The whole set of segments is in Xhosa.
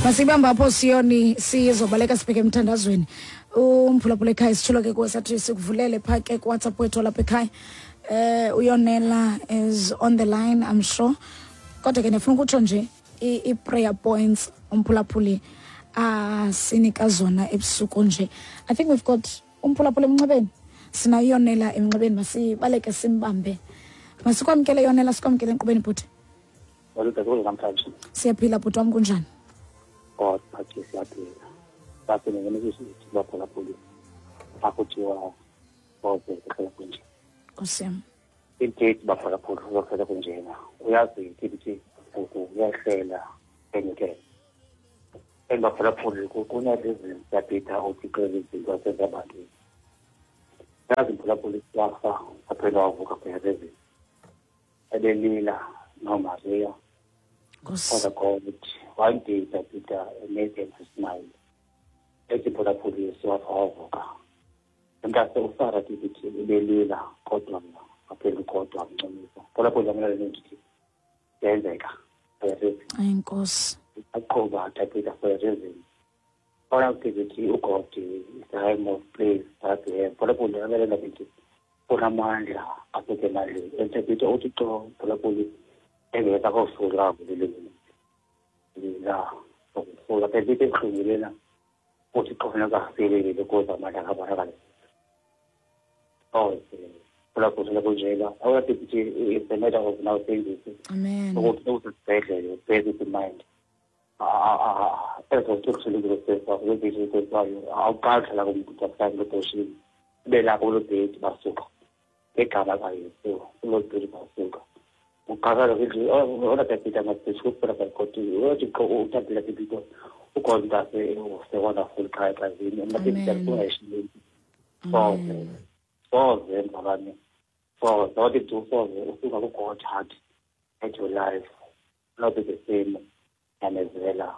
Masibamba apho siyoni, sizobaleka sibheke emthandazweni. Umphulaphula ekhaya, sitshilo ke kuwe, sathi sikuvulele phaa ke kuWhatsApp wethu lapha ekhaya. Uyonela is on the line, I'm sure, kodwa ke ndifuna ukutsho nje i-prayer points umphulaphuli asinika zona ebusuku nje. I think we've got umphulaphuli emnxebeni, sinayo Yonela emnxebeni. Masibaleke simbambe. Masikwamkele Yonela, sikwamkele enkqubeni, bhuti. Namhlanje. Siyaphila, bhuti wam, kunjani? God phathi, siyaphila. Sasingenisithi baphulaphuli, akuthiwa soze kuhlala kunje. Nkosi yam. Indeed, baphulaphuli, kuzophela kunjena. Uyazi ithi ngoku uyahlela enyukela and baphulaphuli, kunezi siyabhitha uThixo izinto asenza ebantwini. Yazi mphulaphuli, wafa waphela wavuka phela ebelila noMaria. Nkosi. Father God, one day Peter made them to smile. Ethi phulaphuli, wafa wavuka. Mntase uSara tibithi ebelila kodwa waphela kodwa wamncumisa. Phulaphuli, amela ndithi yenzeka for a reason. Enkosi. Aqhuba Peter for a reason. Ona kuthi uGod is the highmost place that we have. Phulaphuli, amela ndithi unamandla aphethe emandleni. And Peter uthi xo phulaphuli engekho akosula kuleli la ukusula phela into ebuhlungu lena, uthi xo funeka afikelele ukuze amandla akabonakale. Soze phulaphula kunjena, awuyathi ukuthi it's a matter of now saying this Amen. ukuthi usesibhedlele, bear this in mind, ezokuthulukusesayo awuqali hlala kumntu mhlawumbi ebhoshini ube lapho kuloo bhedi, basuka ngegama kaYesu kuloo bhedi, basuka uqakala ona tapita masisukula bakoti uthi utapila pipito uGod mntase use-wonderful xa exazini mntase ungayishileli. Soze, soze mzalwane, soze wathi du soze usuka kuGod heart at your life not be the same. Nyamezela,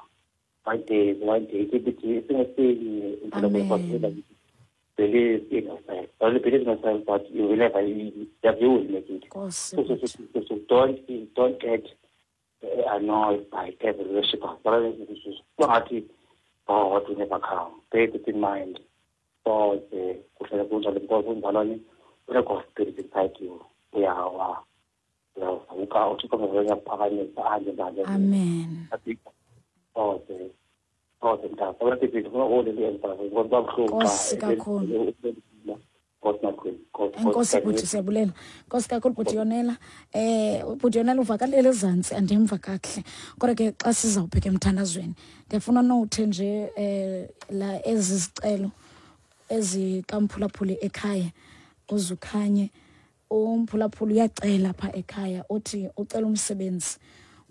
one day, one day ithi singesinye. Amen. Believe in yourself, only believe in yourself, but you will never you, you will make it. Nkosi. So don't get annoyed by devil worshippers. Bangathi God will never come. Bear this in mind. Soze kuhlala kunjalo because umzalwane une-God spirit inside you. Uyawa, uyawuvuka, uThixo uyakuphakamisa anje njalo. Amen. Soze, soze mntaka. Abantu funa oleli emva ngoba babuhlungu. Nkosi kakhulu. Nkosi makhulu. Enkosi bhuti, siyabulela. Nkosi kakhulu, bhuti Yonela. Bhuti Yonela uvakalele ezantsi, andimva kakuhle, kodwa ke xa sizawubheka emthandazweni ndiyafuna nowuthe nje la ezi zicelo ezikamphulaphuli ekhaya uzukhanye. Umphulaphuli uyacela pha ekhaya, uthi ucela umsebenzi.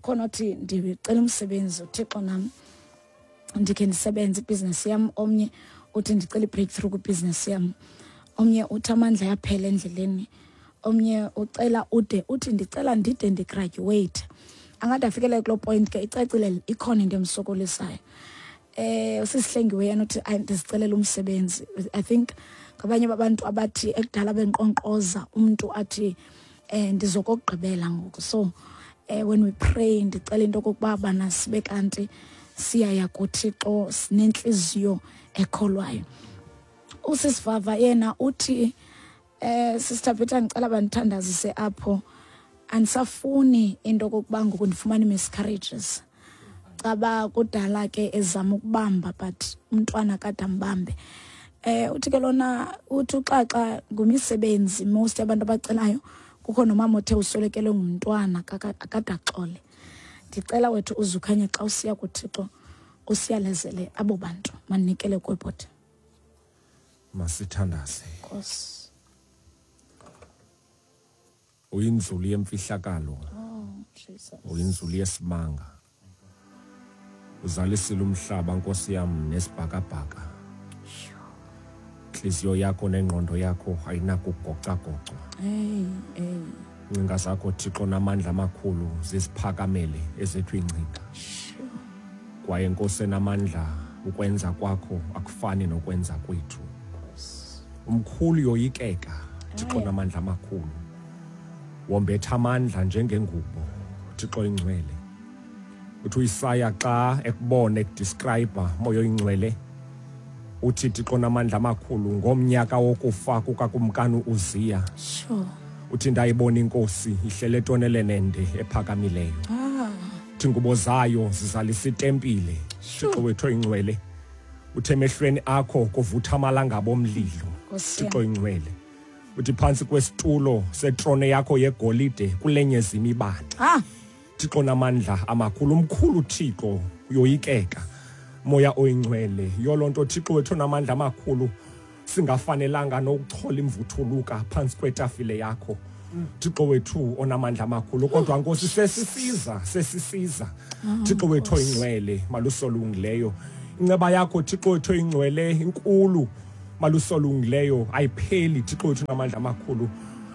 Khona uthi ndicela umsebenzi, uThixo nam ndikhe ndisebenze ibhizinesi yam. Omnye uthi ndicela i-breakthrough kwibhizinesi yam. Omnye uthi amandla ayaphela endleleni. Omnye ucela ude uthi ndicela ndide ndigraduate, angade afikelele kuloo point ke. Icacile ikhona into emsokolisayo. Usisihlengiwe yena uthi ndizicelela umsebenzi. I think ngabanye babantu abathi ekudala benkqonkqoza, umntu athi ndizokokugqibela ngoku. So when we pray, ndicela into okokuba bana sibe kanti siyaya kuThixo sinentliziyo ekholwayo. Usisivava yena uthi, Sister Peter, ngicela bandithandazise apho, andisafuni into okokuba ngoku ndifumane miscarriages. Caba kudala ke ezama ukubamba, but umntwana kade ambambe. Uthi ke lona, uthi uxaxa ngumisebenzi. Most abantu abacelayo, kukho nomama othe uswelekelwe ngumntwana akade axole. Ndicela wethu uzukhanye xa usiya kuThixo usiyalezele abo bantu. Manikele kwebhodi. Masithandaze. Nkosi. Uyinzulu yemfihlakalo. Oh Jesus. Uyinzulu yesimanga, uzalisile umhlaba, Nkosi yam, nesibhakabhaka. Intliziyo yakho nengqondo yakho ayinakugocagocwa. Hey, hey. Ingcinga zakho, Thixo namandla amakhulu, ziziphakamele ezethu iingcinga. Kwaye Nkosi enamandla, ukwenza kwakho akufani nokwenza kwethu. Umkhulu yoyikeka, Thixo namandla amakhulu, wombetha amandla njengengubo, Thixo ingcwele. Uthi uIsaya xa ekubona ekudescribe moya oyingcwele uthi Thixo namandla amakhulu ngomnyaka wokufa kukakumkani uUziya. Sure. Uthi ndayibona inkosi ihlele etoneleni ende ephakamileyo. Ah. Uthi ngubo zayo zizalisa itempile. Thixo wethu oyingcwele. Uthe emehlweni akho kuvutha amalangabo omlilo. Nkosi yam. Thixo oyingcwele. Uthi phantsi kwesitulo setrone yakho yegolide kulenyeza imibane. Ah. Thixo namandla amakhulu, umkhulu Thixo, uyoyikeka. Moya oyingcwele, yiyo loo nto Thixo wethu namandla amakhulu singafanelanga nokuchola imvuthuluka phantsi kwetafile yakho. Thixo wethu onamandla amakhulu, kodwa Nkosi sesisiza, sesisiza. Thixo wethu oyingcwele, malusolungileyo. Inceba yakho Thixo wethu oyingcwele inkulu, malusolungileyo ayipheli. Thixo wethu namandla amakhulu.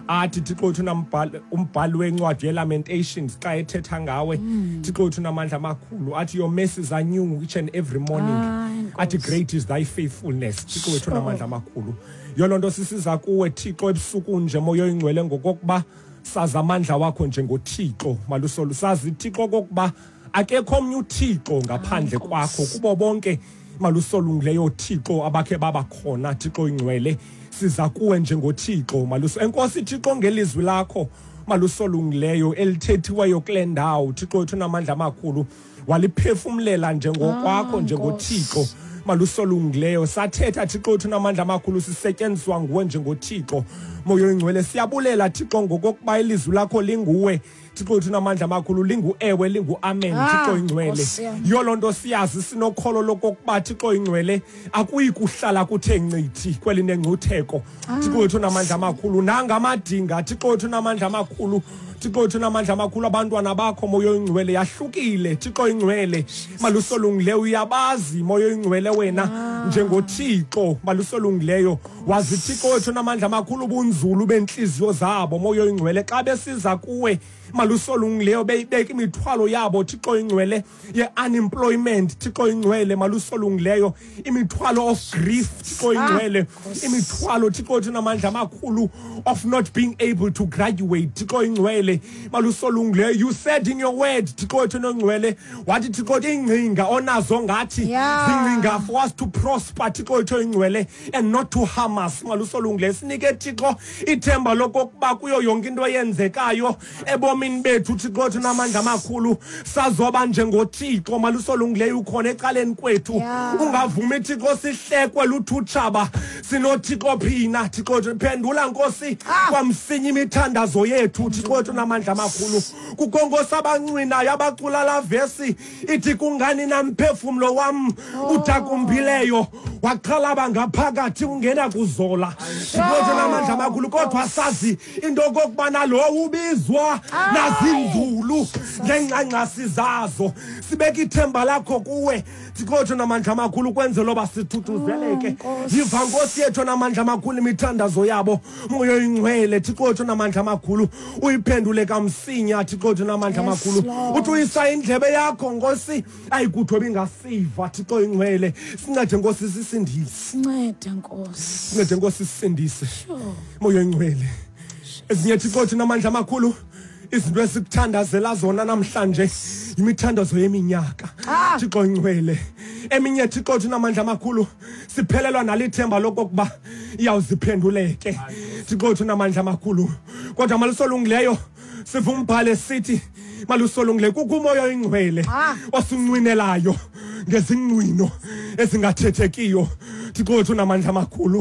Athi Thixo wethu nambhali umbhali wencwadi yeLamentations xa ethetha ngawe, Thixo wethu namandla amakhulu, athi your mercies are new each and every morning. Hayi, Athi Nkosi. great is thy faithfulness. Thixo wethu namandla amakhulu. Yiyo loo nto sisiza kuwe Thixo ebusuku nje moya oyingcwele ngokokuba sazi amandla wakho njengoThixo malusolu, sazi Thixo okokuba akekho omnye uThixo ngaphandle Nkosi. kwakho kubo bonke malusolungileyo Thixo abakhe babakhona. Thixo oyingcwele, siza kuwe njengoThixo maluso. Enkosi Thixo ngelizwi lakho malusolungileyo elithethiweyo kule ndawo. Thixo wethu namandla amakhulu, waliphefumlela njengokwakho Ah, njengoThixo malusolungileyo. Sathetha Thixo wethu namandla amakhulu, sisetyenziswa nguwe njengoThixo moya oyingcwele. Siyabulela Thixo ngokokuba ilizwi lakho linguwe Thixo wethu namandla amakhulu, lingu-ewe lingu-amen. Ah, Thixo oyingcwele, Nkosi yam. yiyo loo nto siyazi sinokholo lokokuba Thixo oyingcwele akuyi kuhlala kuthe ncithi kweli nengcutheko. Thixo wethu namandla amakhulu, nangamadinga Thixo wethu namandla amakhulu, Thixo wethu namandla amakhulu, abantwana bakho moya oyingcwele yahlukile. Thixo oyingcwele malusolungileyo, uyabazi moya oyingcwele wena njengoThixo malusolungileyo, wazi Thixo wethu namandla amakhulu ubunzulu bentliziyo zabo moya oyingcwele. Xa besiza kuwe malusolungileyo beyibeka imithwalo yabo Thixo oyingcwele ye-unemployment, Thixo oyingcwele malusolungileyo, imithwalo of grief Thixo oyingcwele, imithwalo Thixo wethu namandla amakhulu of not being able to graduate Thixo oyingcwele malusolungileyo. You said in your word Thixo wethu nongcwele, wathi Thixo wethu iingcinga onazo ngathi Yeah. zingcinga for us to prosper Thixo wethu oyingcwele and not to harm us malusolungileyo. Sinike Thixo ithemba lokokuba kuyo yonke into eyenzekayo ebomini bethu Thixo wethu namandla amakhulu sazoba njengoThixo malusolungileyo ukhona ecaleni kwethu. Yeah. Ungavumi Thixo sihlekwe luthutshaba, sinoThixo phina Thixo wethu. Phendula Nkosi Ah. kwamsinya imithandazo yethu Thixo wethu namandla amakhulu. Kukho Nkosi abancwinayo abacula la vesi ithi kungani na mphefumlo wam udakumbileyo waxhalaba ngaphakathi ungena kuzola. Thixo wethu namandla amakhulu, kodwa sazi into okokubana lowo ubizwa nazinzulu ngengxangxasi zazo. Sibeka ithemba lakho kuwe Thixo wethu namandla amakhulu ukwenzela uba sithuthuzeleke. Nkosi. Yiva Nkosi yethu namandla amakhulu imithandazo yabo moya oyingcwele Thixo wethu namandla amakhulu, uyiphendule kamsinya Thixo wethu namandla Yes, amakhulu. Lord. Uthi uyisa indlebe yakho Nkosi ayikuthwe bingasiva Thixo oyingcwele. Sincede Nkosi sisindise, Sincede Nkosi. sincede Nkosi sisindise Sure. moya oyingcwele. Ezinye Thixo wethu namandla amakhulu izinto esikuthandazela zona namhlanje imithandazo yeminyaka Ah. Thixo oyingcwele. Eminye Thixo wethu namandla amakhulu siphelelwa nalithemba lokokuba iyawuziphenduleke Thixo wethu namandla amakhulu, kodwa malusolungileyo siva umbhale sithi malusolungileyo kukho umoya oyingcwele Ah. osincwinelayo ngezincwino ezingathethekiyo Thixo wethu namandla amakhulu.